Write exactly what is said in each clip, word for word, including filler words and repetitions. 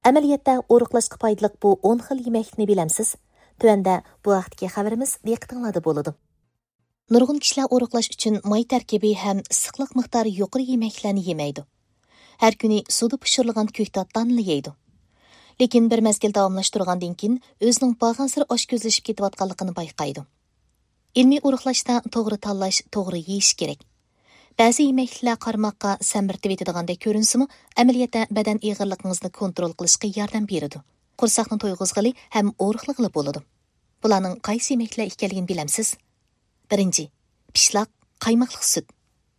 ئەمەلىيەتتە ئورۇقلاشقا پايدىلىق بۇ ئون خىل يېمەكلىكنى بىلەمسىز؟ تۆۋەندە بۇ ھەقتىكى خەۋىرىمىز دىققىتىڭلاردا بولىدۇ. نۇرغۇن كىشىلەر ئورۇقلاش ئۈچۈن ماي تەركىبى ھەم ئىسسىقلىق مىقدارى يۇقىرى يېمەكلىكلەرنى يېمەيدۇ. ھەر كۈنى سۇدا پىشۇرۇلغان كۆكتات دانىنى يەيدۇ. لېكىن بىر مەزگىل داۋاملاشتۇرغاندىن كېيىن ئۆزىنىڭ بارغانسېرى ئاشكۆزلىشىپ كېتىۋاتقانلىقىنى بايقايدۇ. ئىلمىي ئورۇقلاشتا توغرا تاللاش، توغرا يېيىش كېرەك. بەزى يېمەكلىكلەر قارىماققا سەمرىتىۋېتىدىغاندەك كۆرۈنسىمۇ، ئەمەلىيەتتە بەدەن ئېغىرلىقىڭىزنى كونترول قىلىشقا ياردەم بېرىدۇ. قورساقنى تويغۇزغىلى ھەم ئورۇقلىغىلى بولىدۇ. بۇلارنىڭ قايسى يېمەكلىكلەر ئىكەنلىكىنى بىلەمسىز؟ بىرىنچى، پىشلاق، قايماقلىق سۈت.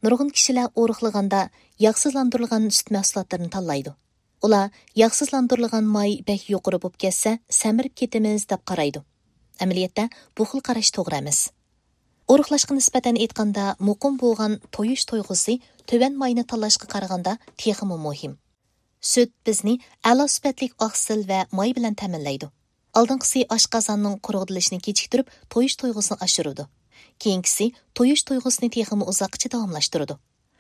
نۇرغۇن كىشىلەر ئورۇقلىغاندا ياغسىزلاندۇرۇلغان سۈت مەھسۇلاتلىرىنى تاللايدۇ. ئۇلار ياغسىزلاندۇرۇلغان ماي بەك يۇقىرى بولۇپ كەتسە، سەمرىپ كېتىمىز دەپ قارايدۇ. ئەمەلىيەتتە، بۇ خىل قاراش توغرا ئەمەس. ئورۇقلاشقا نىسبەتەن ئېيتقاندا، مۇقىم بولغان تويۇش تويغۇسى تۆۋەن ماينى تاللاشقا قارىغاندا تېخىمۇ مۇھىم. سۈت بىزنى ئەلا سۈپەتلىك ئاقسىل ۋە ماي بىلەن تەمىنلەيدۇ. ئالدىنقىسى ئاشقازاننىڭ قۇرغىدىلىشىنى كېچىكتۈرۈپ، تويۇش تۇيغۇسىنى ئاشۇرىدۇ. كېيىنكىسى تويۇش تۇيغۇسىنى تېخىمۇ ئۇزاققىچە داۋاملاشتۇرىدۇ.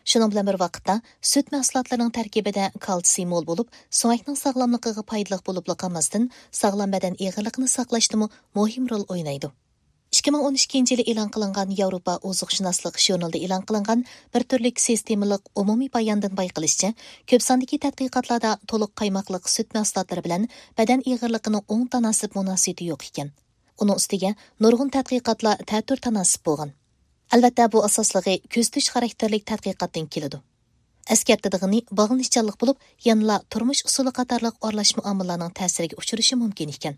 شۇنىڭ بىلەن بىر ۋاقىتتا، سۈت مەھسۇلاتلىرىنىڭ تەركىبىدە كالتسىي مول بولۇپ، سۆڭەكنىڭ ساغلاملىقىغا پايدىلىق بولۇپلا قالماستىن، ساغلام بەدەن ئېغىرلىقىنى ساقلاشتىمۇ مۇھىم رول ئوينايدۇ. ئىككى مىڭ ئون ئىككىنچى يىلى ئېلان قىلىنغان ياۋروپا ئوزۇقشۇناسلىق ژۇرنىلىدا ئېلان قىلىنغان بىر تۈرلۈك سىستېمىلىق ئومۇمىي باياندىن بايقىلىشىچە، كۆپ ساندىكى تەتقىقاتلاردا تولۇق قايماقلىق سۈت مەھسۇلاتلىرى بىلەن بەدەن ئېغىرلىقىنىڭ ئوڭ تاناسىپ مۇناسىۋىتى يوق ئىكەن. ئۇنىڭ ئۈستىگە نۇرغۇن تەتقىقاتلار تەتۈر تاناسىپ بولغان. ئەلۋەتتە، بۇ ئاساسلىقى كۆزىتىش خاراكتېرلىك تەتقىقاتتىن كېلىدۇ. ئەسكەرتىدىغىنى باغلىنىشچانلىق بولۇپ، يەنىلا تۇرمۇش ئۇسۇلى قاتارلىق ئارىلاشما ئامىللارنىڭ تەسىرىگە ئۇچرىشى مۇمكىن ئىكەن.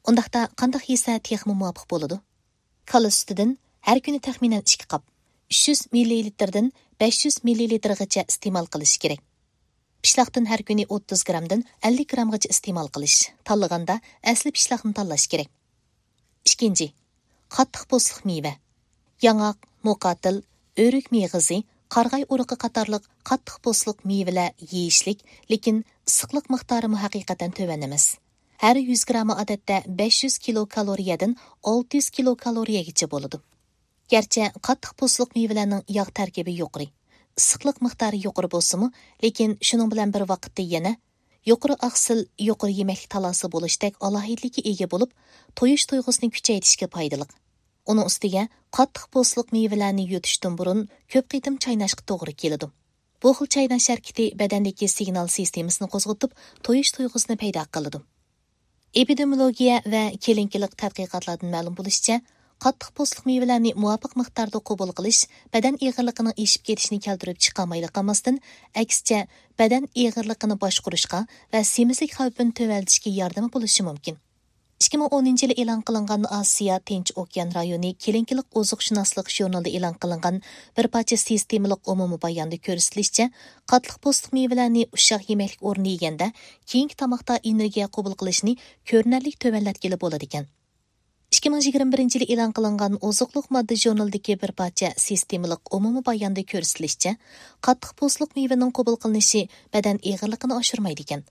ئۇنداقتا قانداق يېسە تېخىمۇ مۇۋاپىق بولىدۇ؟ كالا سۈتىدىن ھەر كۈنى تەخمىنەن ئىككى قاپ، ئۈچ يۈز مىللىلىتىردىن بەش يۈز مىللىلىتىرغىچە ئىستېمال قىلىش كېرەك. پىشلاقتىن ھەر كۈنى ئوتتۇز گرامدىن ئەللىك گرامغىچە ئىستېمال قىلىش، تاللىغاندا ئەسلى پىشلاقنى تاللاش كېرەك. ئىككىنچى، قاتتىق پوستلۇق مېۋە. ياڭاق، موقاتىل، ئۆرۈك مېغىزى، قارىغاي ئۇرۇقى قاتارلىق قاتتىق پوستلۇق مېۋىلەر يېيىشلىك، لېكىن ئىسسىقلىق مىقدارىمۇ ھەقىقەتەن تۆۋەن ئەمەس. ھەر يۈز گرامى ئادەتتە بەش يۈز كىلوكالورىيەدىن ئالتە يۈز كىلوكالورىيەگىچە بولىدۇ. گەرچە قاتتىق پوستلۇق مېۋىلەرنىڭ ياغ تەركىبى يۇقىرى، ئىسسىقلىق مىقدارى يۇقىرى بولسىمۇ، لېكىن شۇنىڭ بىلەن بىر ۋاقىتتا يەنە يۇقىرى ئاقسىل، يۇقىرى يېمەكلىك تالاسى بولۇشتەك ئالاھىدىلىككە ئىگە بولۇپ، تويۇش تۇيغۇسىنى كۈچەيتىشكە پايدىلىق. ئۇنىڭ ئۈستىگە قاتتىق پوستلۇق مېۋىلەرنى يۇتۇشتىن بۇرۇن كۆپ قېتىم چايناشقا توغرا كېلىدۇ. بۇ خىل چايناش ھەرىكىتى بەدەندىكى سىگنال سىستېمىسىنى قوزغىتىپ، تويۇش تۇيغۇسىنى پەيدا قىلىدۇ. ئېپىدېمىولوگىيە ۋە كېلىنكىلىق تەتقىقاتلاردىن مەلۇم بولۇشىچە، قاتتىق پوستلۇق مېۋىلەرنى مۇۋاپىق مىقداردا قوبۇل قىلىش بەدەن ئېغىرلىقىنىڭ ئېشىپ كېتىشىنى كەلتۈرۈپ چىقارمايلا قالماستىن، ئەكسىچە، بەدەن ئېغىرلىقىنى باشقۇرۇشقا ۋە سېمىزلىك خەۋپىنى تۆۋەنلىتىشكە ياردىمى بولۇشى مۇمكىن. ئىككى مىڭ ئونىنچى يىلى ئېلان قىلىنغان ئاسىيا تىنچ ئوكيان رايونى كېلىنكىلىق ئوزۇقشۇناسلىق ژۇرنىلىدا ئېلان قىلىنغان بىر پارچە سىستېمىلىق ئومۇمىي باياندا كۆرسىتىلىشىچە، قاتتىق پوستلۇق مېۋىلەرنى ئۇششاق يېمەكلىك ئورنىدا يېگەندە، كېيىنكى تاماقتا ئېنېرگىيە قوبۇل قىلىشنى كۆرۈنەرلىك تۆۋەنلەتكىلى بولىدىكەن. ئىككى مىڭ يىگىرمە بىرىنچى يىلى ئېلان قىلىنغان ئوزۇقلۇق ماددا ژۇرنىلىدىكى بىر پارچە سىستېمىلىق ئومۇمىي باياندا كۆرسىتىلىشىچە، قاتتىق پوستلۇق مېۋىنىڭ قوبۇل قىلىنىشى بەدەن ئېغىرلىقىنى ئاشۇرمايدىكەن.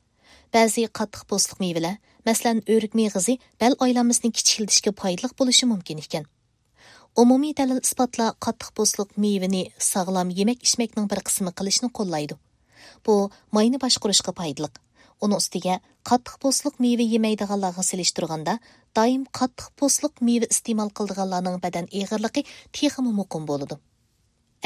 بەزى قاتتىق پوستلۇق مېۋىلەر، مەسىلەن، ئۆرۈك مېغىزى بەل ئايلانمىسىنى كىچىكلىتىشكە پايدىلىق بولۇشى مۇمكىن ئىكەن. ئومۇمىي دەلىل-ئىسپاتلار قاتتىق پوستلۇق مېۋىنى ساغلام يېمەك-ئىچمەكنىڭ بىر قىسمى قىلىشنى قوللايدۇ. بۇ ماينى باشقۇرۇشقا پايدىلىق. ئۇنىڭ ئۈستىگە قاتتىق پوستلۇق مېۋە يېمەيدىغانلارغا سېلىشتۇرغاندا، دائىم قاتتىق پوستلۇق مېۋە ئىستېمال قىلىدىغانلارنىڭ بەدەن ئېغىرلىقى تېخىمۇ مۇقىم بولىدۇ.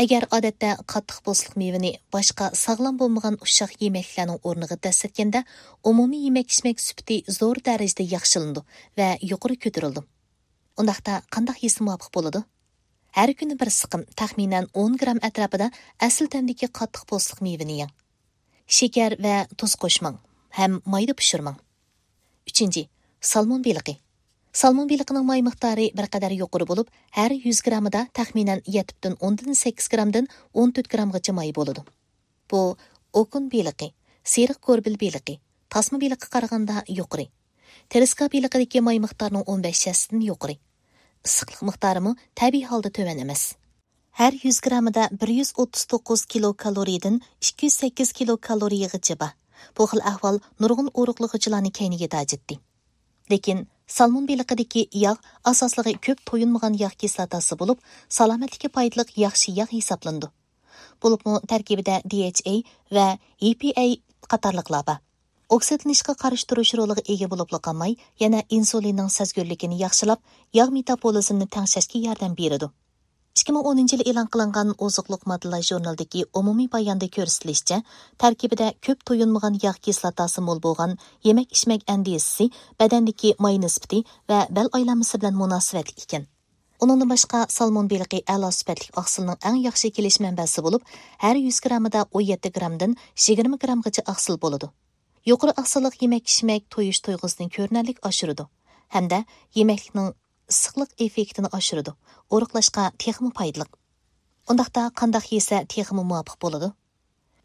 ئەگەر ئادەتتە قاتتىق پوستلۇق مېۋىنى باشقا ساغلام بولمىغان ئۇششاق يېمەكلىكلەرنىڭ ئورنىغا دەسسەتكەندە، ئومۇمىي يېمەك-ئىچمەك سۈپىتى زور دەرىجىدە ياخشىلىنىدۇ ۋە يۇقىرى كۆتۈرۈلىدۇ. ئۇنداقتا قانداق يېسە مۇۋاپىق بولىدۇ؟ ھەر كۈنى بىر سىقىم، تەخمىنەن ئون گرام ئەتراپىدا ئەسلى تەمدىكى قاتتىق پوستلۇق مېۋىنى يەڭ. شېكەر ۋە تۇز قوشماڭ ھەم مايدا پىشۇرماڭ. ئۈچىنچى، سالمون بېلىقى. سالمون بېلىقىنىڭ ماي مىقدارى بىر قەدەر يۇقىرى بولۇپ، ھەر يۈز گرامىدا تەخمىنەن يەتتە پۈتۈن ئوندىن سەككىز گرامدىن ئون تۆت گرامغىچە ماي بولىدۇ. بۇ ئوكۇن بېلىقى، سېرىق گوربىل بېلىقى، تاسما بېلىققا قارىغاندا يۇقىرى. ترېسكا بېلىقىدىكى ماي مىقدارىنىڭ ئون بەش ھەسسىدىن يۇقىرى. ئىسسىقلىق مىقدارىمۇ تەبىئىي ھالدا تۆۋەن ئەمەس. ھەر يۈز گرامىدا بىر يۈز ئوتتۇز توققۇز كىلوكالورىيەدىن ئىككى يۈز سەككىز كىلوكالورىيەگىچە بار. بۇ خىل ئەھۋال نۇرغۇن ئورۇقلىغۇچىلارنى كەينىگە تاجىتتى. لېكىن سالمون بېلىقىدىكى ياغ ئاساسلىقى كۆپ تويۇنمىغان ياغ كىسلاتاسى بولۇپ، سالامەتلىككە پايدىلىق ياخشى ياغ ھېسابلىنىدۇ. بولۇپمۇ تەركىبىدە دى ئېيچ ئەي ۋە ئى پى ئەي قاتارلىقلار بار. ئوكسىدلىنىشقا قارشى تۇرۇش رولىغا ئىگە بولۇپلا قالماي، يەنە ئىنسۇلىننىڭ سەزگۈرلۈكىنى ياخشىلاپ، ياغ مېتابولىزمنى تەڭشەشكە ياردەم بېرىدۇ. ئىككى مىڭ ئونىنچى يىلى ئېلان قىلىنغان ئوزۇقلۇق ماددىلار ژۇرنىلىدىكى ئومۇمىي باياندا كۆرسىتىلىشىچە، تەركىبىدە كۆپ تويۇنمىغان ياغ كىسلاتاسى مول بولغان يېمەك-ئىچمەك ئەندىزىسى بەدەندىكى ماي نىسبىتى ۋە بەل ئايلانمىسى بىلەن مۇناسىۋەتلىك ئىكەن. ئۇنىڭدىن باشقا، سالمون بېلىقى ئەلا سۈپەتلىك ئاقسىلنىڭ ئەڭ ياخشى كېلىش مەنبەسى بولۇپ، ھەر يۈز گراممىدا ئون يەتتە گرامدىن يىگىرمە گرامغىچە ئاقسىل بولىدۇ. يۇقىرى ئاقسىللىق يېمەك-ئىچمەك تويۇش تۇيغۇسىنى كۆرۈنەرلىك ئاشۇرىدۇ ھەمدە يېمەكلىكنىڭ ئىسسىقلىق ئېففېكتىنى ئاشۇرىدۇ، ئورۇقلاشقا تېخىمۇ پايدىلىق. ئۇنداقتا قانداق يېسە تېخىمۇ مۇۋاپىق بولىدۇ؟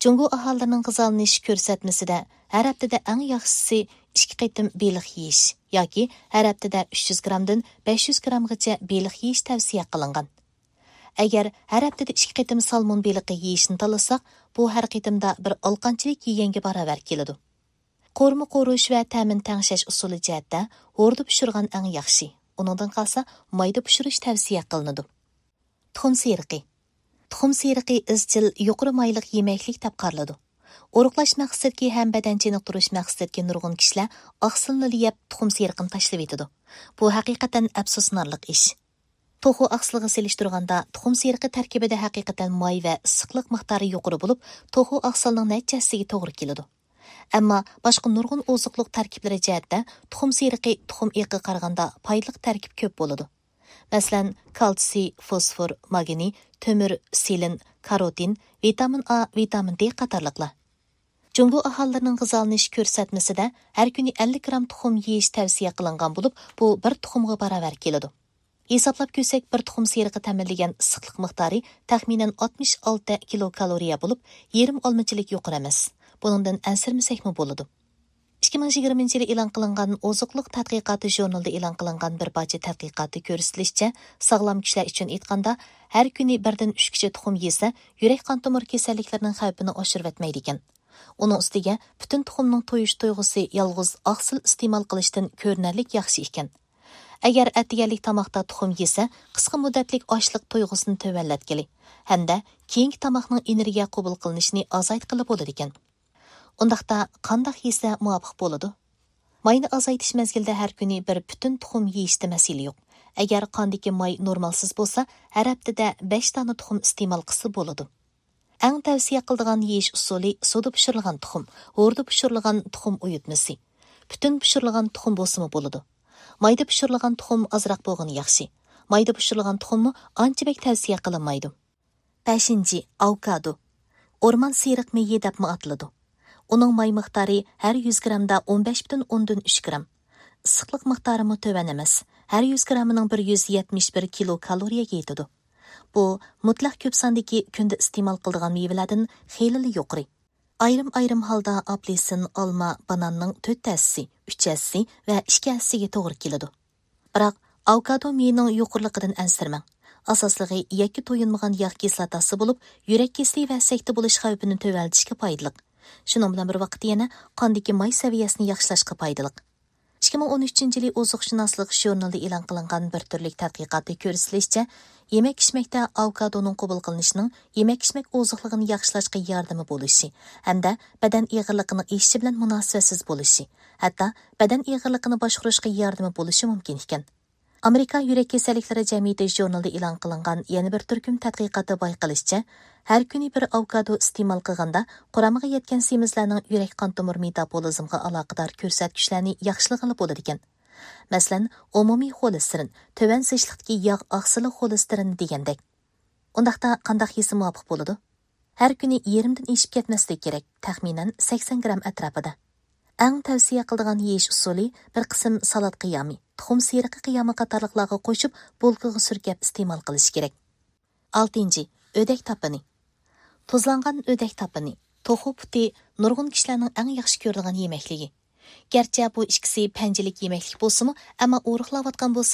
جۇڭگو ئاھالىلىرىنىڭ غىزالىنىش كۆرسەتمىسىدە ھەر ھەپتىدە ئەڭ ياخشىسى ئىككى قېتىم بېلىق يېيىش ياكى ھەر ھەپتىدە ئۈچ يۈز گرامدىن بەش يۈز گرامغىچە بېلىق يېيىش تەۋسىيە قىلىنغان. ئەگەر ھەر ھەپتىدە ئىككى قېتىم سالمون بېلىقى يېيىشنى تاللىساق، بۇ ھەر قېتىمدا بىر ئالقانچىلىك يېگەنگە باراۋەر كېلىدۇ. قورۇما قورۇش ۋە تەمىنى تەڭشەش ئۇسۇلى جەھەتتە ھوردا پىشۇرغان ئەڭ ياخشى. ئۇنىڭدىن قالسا، مايدا پىشۇرۇش تەۋسىيە قىلىنىدۇ. تۇخۇم سېرىقى. تۇخۇم سېرىقى ئىزچىل يۇقىرى مايلىق يېمەكلىك دەپ قارىلىدۇ. ئورۇقلاش مەقسىتىدىكى ھەم بەدەن چېنىقتۇرۇش مەقسىتىدىكى نۇرغۇن كىشىلەر ئاقسىلنىلا يەپ، تۇخۇم سېرىقىنى تاشلىۋېتىدۇ. بۇ ھەقىقەتەن ئەپسۇسلىنارلىق ئىش. توخۇ ئاقسىلىغا سېلىشتۇرغاندا، تۇخۇم سېرىقى تەركىبىدە ھەقىقەتەن ماي ۋە ئىسسىقلىق مىقدارى يۇقىرى بولۇپ، توخۇ ئاقسىلنىڭ نەچچە ھەسسىگە توغرا كېلىدۇ. ئەمما باشقا نۇرغۇن ئوزۇقلۇق تەركىبلىرى جەھەتتە تۇخۇم سېرىقى تۇخۇم ئېقىغا قارىغاندا پايدىلىق تەركىب كۆپ بولىدۇ. مەسىلەن، كالتسىي، فوسفور، ماگنىي، تۆمۈر، سېلېن، كاروتىن، ۋىتامىن ئا، ۋىتامىن دې قاتارلىقلار. جۇڭگو ئاھالىلىرىنىڭ غىزالىنىش كۆرسەتمىسىدە ھەر كۈنى ئەللىك گرام تۇخۇم يېيىش تەۋسىيە قىلىنغان بولۇپ، بۇ بىر تۇخۇمغا باراۋەر كېلىدۇ. ھېسابلاپ كۆرسەك، بىر تۇخۇم سېرىقى تەمىنلىگەن ئىسسىقلىق مىقدارى تەخمىنەن ئاتمىش ئالتە كىلوكالورىيە بولۇپ، يېرىم ئالمىچىلىك يۇقىرى ئەمەس. بۇنىڭدىن ئەنسىرىمىسەكمۇ بولىدۇ. ئىككى مىڭ يىگىرمىنچى يىلى ئېلان قىلىنغان ئوزۇقلۇق تەتقىقاتى ژۇرنىلىدا ئېلان قىلىنغان بىر پارچە تەتقىقاتتا كۆرسىتىلىشىچە، ساغلام كىشىلەر ئۈچۈن ئېيتقاندا، ھەر كۈنى بىردىن ئۈچكىچە تۇخۇم يېسە، يۈرەك قان تومۇر كېسەللىكلىرىنىڭ خەۋپىنى ئاشۇرۇۋەتمەيدىكەن. ئۇنىڭ ئۈستىگە، پۈتۈن تۇخۇمنىڭ تويۇش تۇيغۇسى يالغۇز ئاقسىل ئىستېمال قىلىشتىن كۆرۈنەرلىك ياخشى ئىكەن. ئەگەر ئەتىگەنلىك تاماقتا تۇخۇم يېسە، قىسقا مۇددەتلىك ئاچلىق تۇيغۇسىنى تۆۋەنلەتكىلى ھەمدە كېيىنكى تاماقنىڭ ئېنېرگىيە قوبۇل قىلىنىشىنى ئازايتقىلى بولىدىكەن. ئۇنداقتا قانداق يېسە مۇۋاپىق بولىدۇ؟ ماينى ئازايتىش مەزگىلىدە ھەر كۈنى بىر پۈتۈن تۇخۇم يېيىشتە مەسىلە يوق. ئەگەر قاندىكى ماي نورمالسىز بولسا، ھەر ھەپتىدە بەش دانە تۇخۇم ئىستېمال قىلسا بولىدۇ. ئەڭ تەۋسىيە قىلىدىغان يېيىش ئۇسۇلى سۇدا پىشۇرۇلغان تۇخۇم، ھوردا پىشۇرۇلغان تۇخۇم ئۇيۇتمىسى. پۈتۈن پىشۇرۇلغان تۇخۇم بولسىمۇ بولىدۇ. مايدا پىشۇرۇلغان تۇخۇم ئازراق بولغىنى ياخشى. مايدا پىشۇرۇلغان تۇخۇممۇ ئانچە بەك تەۋسىيە قىلىنمايدۇ. بەشىنچى، ئاۋوكادو. ئورمان سېرىق مېيى دەپمۇ ئاتىلىدۇ. ئۇنىڭ ماي مىقدارى ھەر يۈز گرامدا ئون بەش پۈتۈن ئوندىن ئۈچ گرام. ئىسسىقلىق مىقدارىمۇ تۆۋەن ئەمەس. ھەر يۈز گرامىنىڭ بىر يۈز يەتمىش بىر كىلو كالورىيەگە يېتىدۇ. بۇ مۇتلەق كۆپ ساندىكى كۈندە ئىستېمال قىلىدىغان مېۋىلەردىن خېلىلا يۇقىرى. ئايرىم-ئايرىم ھالدا ئاپېلسىن، ئالما، باناننىڭ تۆت ھەسسىسى، ئۈچ ھەسسىسى ۋە ئىككى ھەسسىسىگە توغرا كېلىدۇ. بىراق، ئاۋوكادو مېيىنىڭ يۇقىرىلىقىدىن ئەنسىرىمەڭ. ئاساسلىقى يەككە تويۇنمىغان ياغ كىسلاتاسى بولۇپ، يۈرەك كېسىلى ۋە سەكتە بولۇش خەۋپىنى تۆۋەنلىتىشكە پايدىلىق. شۇنىڭ بىلەن بىر ۋاقىتتا يەنە قاندىكى ماي سەۋىيەسىنى ياخشىلاشقا پايدىلىق. ئىككى مىڭ ئون ئۈچىنچى يىلى ئوزۇقشۇناسلىق ژۇرنىلىدا ئېلان قىلىنغان بىر تۈرلۈك تەتقىقاتتا كۆرسىتىلىشىچە، يېمەك-ئىچمەكتە ئاۋوكادونىڭ قوبۇل قىلىنىشىنىڭ يېمەك-ئىچمەك ئوزۇقلۇقىنى ياخشىلاشقا ياردىمى بولۇشى ھەمدە بەدەن ئېغىرلىقىنىڭ ئېشىشى بىلەن مۇناسىۋەتسىز بولۇشى، ھەتتا بەدەن ئېغىرلىقىنى باشقۇرۇشقا ياردىمى بولۇشى مۇمكىن ئىكەن. ئامېرىكا يۈرەك كېسەللىكلىرى جەمئىيىتى ژۇرنىلىدا ئېلان قىلىنغان يەنە بىر تۈركۈم تەتقىقاتتا بايقىلىشىچە، ھەر كۈنى بىر ئاۋوكادو ئىستېمال قىلغاندا، قۇرامىغا يەتكەن سېمىزلەرنىڭ يۈرەك قان تومۇر مېتابولىزمغا ئالاقىدار كۆرسەتكۈچلەرنى ياخشىلىغىلى بولىدىكەن. مەسىلەن، ئومۇمىي خولېستېرىن، تۆۋەن زىچلىقتىكى ياغ ئاقسىلى خولېستېرىنى دېگەندەك. ئۇنداقتا قانداق يېسە مۇۋاپىق بولىدۇ؟ ھەر كۈنى يېرىمدىن ئېشىپ كەتمەسلىكى كېرەك، تەخمىنەن سەكسەن گرام ئەتراپىدا. ئەڭ تەۋسىيە قىلىدىغان يېيىش ئۇسۇلى بىر قىسىم سالات قىيامى، تۇخۇم سېرىقى قىيامى قاتارلىقلارغا قوشۇپ، بولكىغا سۈركەپ ئىستېمال قىلىش كېرەك. ئالتىنچى، ئۆدەك تاپىنى. تۇزلانغان ئۆدەك تاپىنى، توخۇ پۇتى نۇرغۇن كىشىلەرنىڭ ئەڭ ياخشى كۆرىدىغان يېمەكلىكى. گەرچە بۇ ئىككىسى پەنجىلىك يېمەكلىك بولسىمۇ، ئەمما ئورۇقلاۋاتقان بولسا،